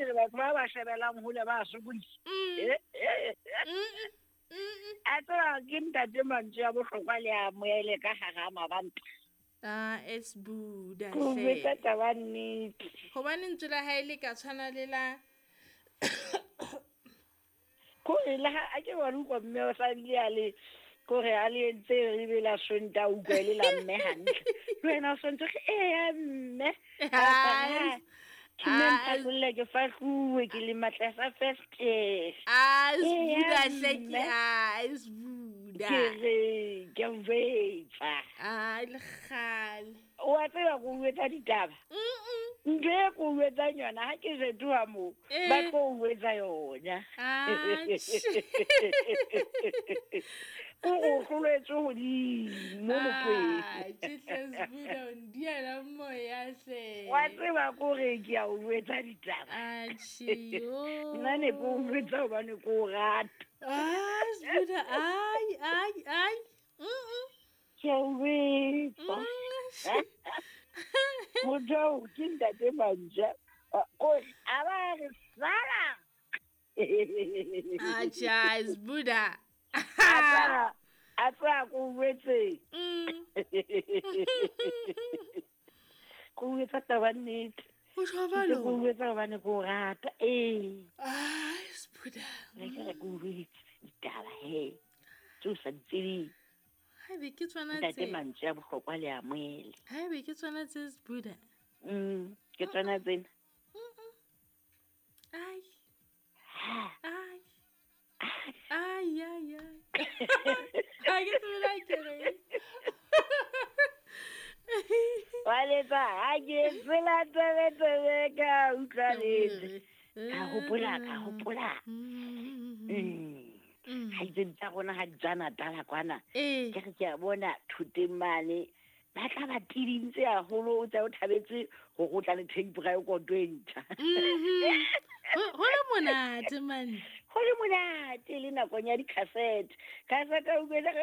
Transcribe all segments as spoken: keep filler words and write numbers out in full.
ke re batho ba ba shebelang hole ba sokodisa. A tseba ke ntate mantswe a bohlokwa le a moele ka hara mabanta. Ah, it's Buddha. Ko botsa taba nnete. Hobane ntswe la hae le ka tshwana le la ko re la a ke wa utlwa mme o sa bile a le ko re a le entse re be la Sontaha utlwa e le la mme hantle. Le wena o sontse re ee mme. Ke mme mphakolle ke fahluwe ke le matlasa first. Ah, it's Buddha hle ke ah, it's Buddha. Ke re ke o jwetsa. Ah, le kgale. O a tseba ko o etsa ditaba. Ntho e ko o etsang yona ha ke fetoha moo ba tlo o etsa yona. Ko o hloletswe hodimo mokweng. Ah, hle Buddha o ndiela moya hle. Wa tseba ko re ke a o etsa ditaba. Atjhe, yo. Nna ne ko o jwetsa hobane ko o rata. Ah, Buddha, ai, ai, ai. Mm. Ke a o jwetsa. Motho oo ke ntate Mantja. Ko a ba re sala. Atjhe, it's Buddha. A a tswa ko jwetse. Mm. Ko o etsa taba nnete. O jwalo. Ko o etsa hobane ko o rata. Ee. Ah, it's Buddha. Re ke re ko o jwetse ditaba he. Tseo sa di tsebeng. Haebe ke tsona Ntate tse. mantswe a bohlokwa le a moele. Haebe ke tsona tse Buddha. Mm, ke tsona tsena. Ai. Ai. Ai, ai, ai. Ha ke tsebe la ke re. Wa letsa ha ke tsela tsebe tsebe ka utlwa letse. Ka hopola, ka hopola. Mm. Ha itse tsa rona ha di tswa Natala kwana. Ee. Ke re ke a bona thoteng mane ba tla ba tidintse haholo o tsa o thabetse hore o tla le tape record e ntjha. Mhm. Ho ho le monate man. Ho le monate le nakong ya di-cassette. Cassette o utlwele e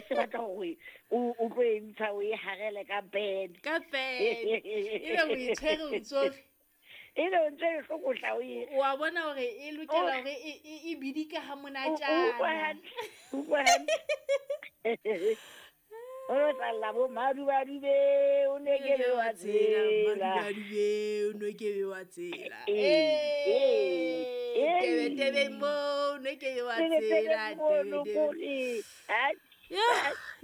se batla hore o o tlo e ntsha o e harele ka bed. Ka pen. Ebe o e tshwere o ntso re E le o ntse e hlokotla o e wa bona hore e lokela hore e e e bidika ha o utlwa monatjana. hantle. Utlwa hantle. O lo tlalla bo madubadube o ne ke be wa tsela. Madubadube o no ke be wa tsela. Ee, ee, Eh, ee. tebe tebe mo o no ke be wa Tebe tebe tsela mono tebe tebe. kore. Ai, Yo,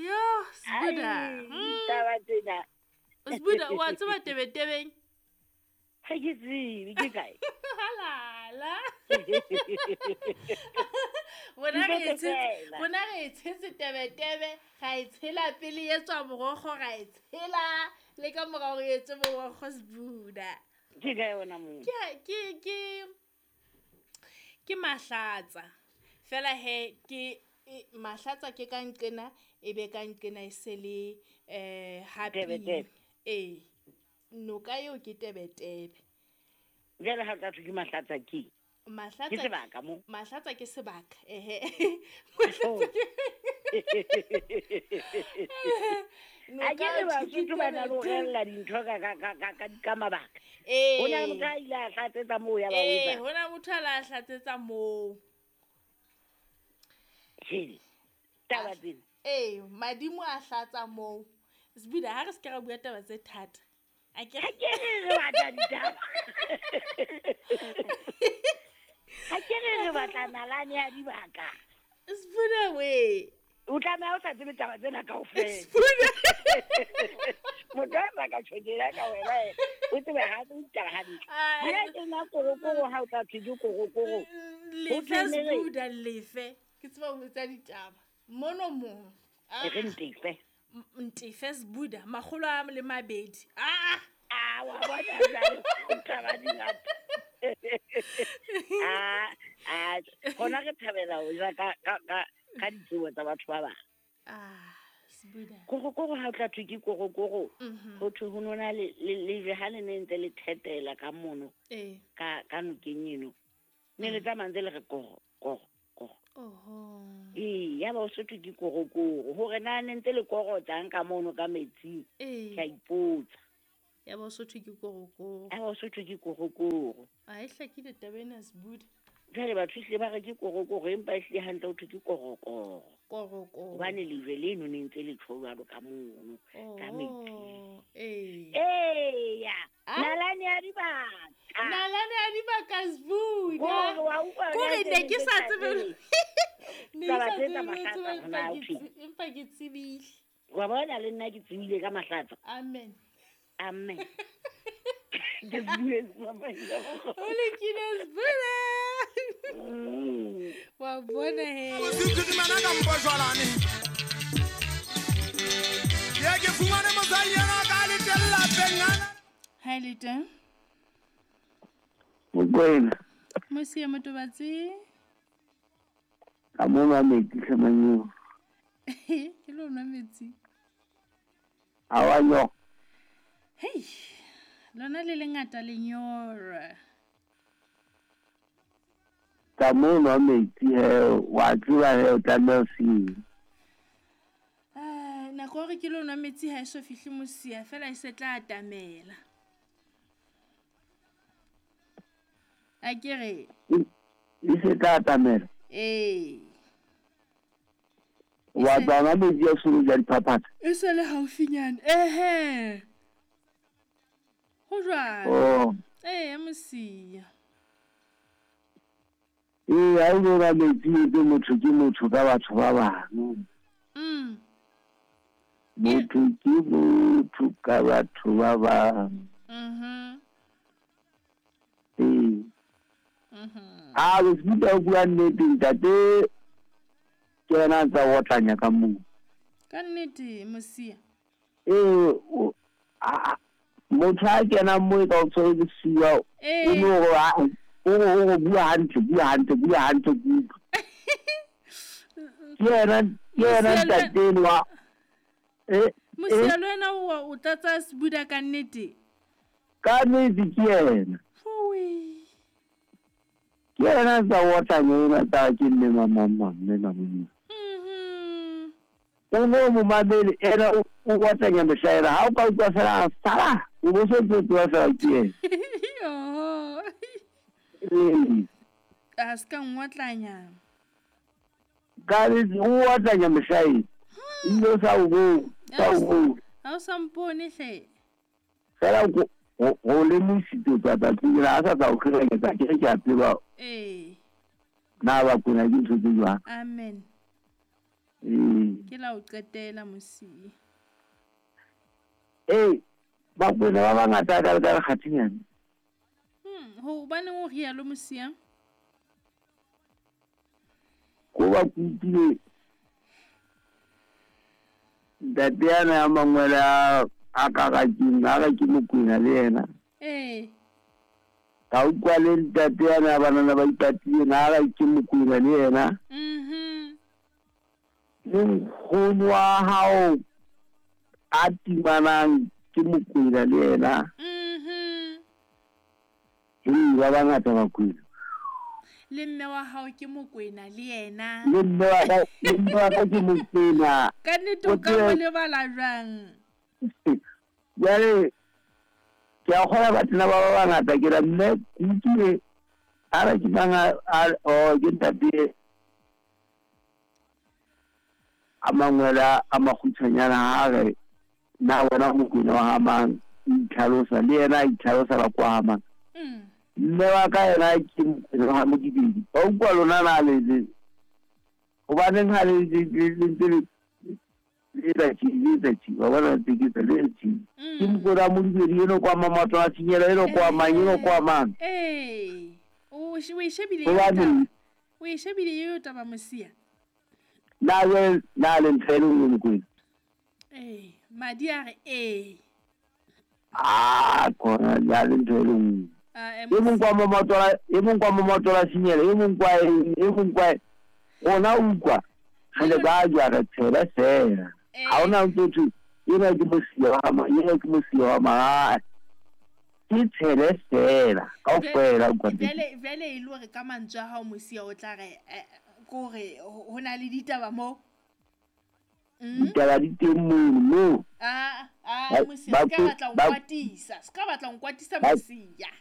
yo, Sbuda. ai, Mm. taba tsena. Sbuda wa tseba tebe tebeng? Ha ke tsebe ke kae? Halala. Bona re e Ntho tshetse, feela. bona re e tshetse tebe tebe, ra e tshela pele e tswa borokgo ra e tshela le ka mora hore e etse borokgo Sbuda. Ke kae hona moo? Ke ke ke ke Mahlatsa. Fela he ke e, Mahlatsa ke ka nqena e be ka nqena e se le eh happy. Tebe tebe. Ee. Noka eo ke tebe tebe. Jwale ha o tla thwe ke Mahlatsa ke? Ke Mahlatsa sebaka moo. Mahlatsa ke sebaka. Ehe. Oh. Mahlatsa ke A ke Noka re eo ke Basotho ba na le ho tebe tebe. rehella dintho ka ka ka ka ka ka mabaka. Ho na le motho Ee. a ile a hlatsetsa moo ya ba o Ee, etsang. ho na motho a la hlatsetsa moo. Hele, A taba tsena. ee, madimo a hlatsa moo. Sbuda ha re se ke ra bua taba tse thata. A ke Ha ke re re batla ditaba. Ha ke re re batla nalane ya dibaka. Sbuda we. O tlameha o sa tsebe taba tsena kaofela. Sbuda. Motho a sa ka tjhokela ka wena e, o tsebe ha o ditaba hantle. Ai, Hona ke nna korokoro ha o tla thwe ke korokoro. Ho lefe thwe ne re Sbuda lefe. Ke tseba ho etsa ditaba. Mono mong. e re Ah, ntefe. ntefe Sbuda makgolo a le mabedi. Ah. Ah, wa bona jwale taba di ngata. Ah, ah, hona re thabela ho ja ka ka ka ka ditsebo tsa batho ba bang. Ah, Sbuda. Korokoro ha o tla thwe ke korokoro. Mhm. Ho thwe ho nona le le lejwe ha le ne ntse le thetela ka mono Ee. ka ka nokeng eno. Ne le tsamaya ntse le re koro koro koro. Oho. Ee, ya ba o se thwe ke korokoro. Hore na ne ntse le korotsang ka mono ka metsing. Ee. Ke a ipotsa. Ya Basotho ke korokoro. Ya Basotho ke korokoro. A e hlakile taba ena Sebuda. Jwale batho ehlile ba re ke korokoro empa ehlile hantle ho thwe ke korokoro. Korokoro. Hobane lejwe leno ne ntse le tjho jwalo ka mono, ka metsing. Ee. Eya. Nalane ya dibaka. Nalane ya dibaka Sebuda. Kore wa utlwa Kore ne ke sa tsebe. Ne ke sa tsebe empa ke tsebile. Wa bona le nna ke tsebile ka mahlatsa. Amen. Amen. Ke bue mama. O lekile Sebuda. Wa bona he. O se ke ka mpo jwalane. Ke ke fumane mosadi ena ka le tella pengana. Ha le teng? Mokwena. Mosia Motobatsi. Ka mo nwa metsi tlhamanyo. Ke lo nwa metsi. A wa nyo. Hey. Lona le lengata lenyora. Ka mo nwa metsi he wa tseba he o tlameha ho senya. Ah, nako hore ke lo nwa metsi ha e so fihle mosia fela e se tla atamela. A ke re e se tla atamela. Ee. Wa tla nwa metsi a solo ja diphaphatha. E se le haufinyane. Ehe. Ho jwalo. Oh. Ee, mosia. Ee, ha o nwa metsi ke motho ke motho ka batho ba bang. Mm. Motho ke motho ka batho ba bang. Mhm. Ee. Mhm. A o se o bua nnete ntate ke yena a tsa otlanya ka moo. Ka nnete mosia. Ee, a motho a kenang moo e ka o tshwere bosiu o no o o o bua hantle bua hantle bua hantle kudu. Ke yena ke yena ntate enwa. Eh mosia le wena o o tlatsa Sebuda ka nnete. Ka nnete ke yena. Fui. Ke yena tsa otlanya ena tsa ke mme mama mama mme mama. Mhm. O no mo mamele ena o otlanya mohlaela ha o ka utlwa fela sala o bo se tlo fela ke yena. Yo. Ee. A se ka ngotlanya. Ka nnete o otlanya mohlaela. Ile sa o go sa o go. Ha o sa mpone hle. Fela go go le mosito tsa tsa la sa tsa o kgiranyetsa ke ke a tseba. Ee. Na ba kona ke ntho tse jwang. Amen. Ee. Ke la o qetela mosia. Ee, ba kwena ba bangata ka ka kgathinyana. Hmm, hobaneng o rialo mosia? Ko ba kutlwile ntate yana ya mangwele a a ka ga ke a ga ke Mokwena le yena. Ee. Ka utlwa le ntate yana ya banana ba ipatileng a ga ke Mokwena le yena. Mhm. Le nkgono wa hao a timanang ke Mokwena le yena. Mhm. Ee, ba bangata Bakwena. Le mme wa hao ke Mokwena le yena. Le mme wa ka, le mme wa ka ke Mokwena. Ka nnete o ka mo lebala jwang? Jwale ke a kgolwa batho ba ba bangata ke ra mme ke utlwile a re ke mang a o ke ntate a mangwele a makgutshwanyana ha re na wena Mokwena wa ha mang itlhalosa le yena a itlhalosa la kwa ha mang. Mm. Mme wa ka yena ke Mokwena wa Modibedi. Ba utlwa lona na le le hobaneng ha le le le ntse le le etsa tjhe, le etsa tjhe, wa bona ntse ke etsa le etsa tjhe. Ke Mokwena wa Modibedi eno kwa Mamatlo a Tshinyela eno kwa mang eno kwa mang. Ee. O o e shebile eo Hobaneng taba. O e shebile eo taba mosia. na le na le ntho e le nngwe Mokwena. Ee, madi a re ee. Ah, kona na le ntho e le nngwe. Ah, E mong kwa Mamatlo a e mong kwa Mamatlo a Tshinyela e mong kwa eng e mong kwa rona utlwa re le ba jwa re tshela fela. Ha hona ntho thwe ena ke mosia wa mang ena ke mosia wa mang. Ke tshele fela kaofela utlwa ntate. Jwale jwale e le hore ka mantswe a hao mosia o tla re ko hore ho na le ditaba mo. Ditaba di teng mono moo. Ah, ah, Ba- mosia ba se ka ko- batla ho ba- nkwatisa se ka batla ho nkwatisa ba- mosia.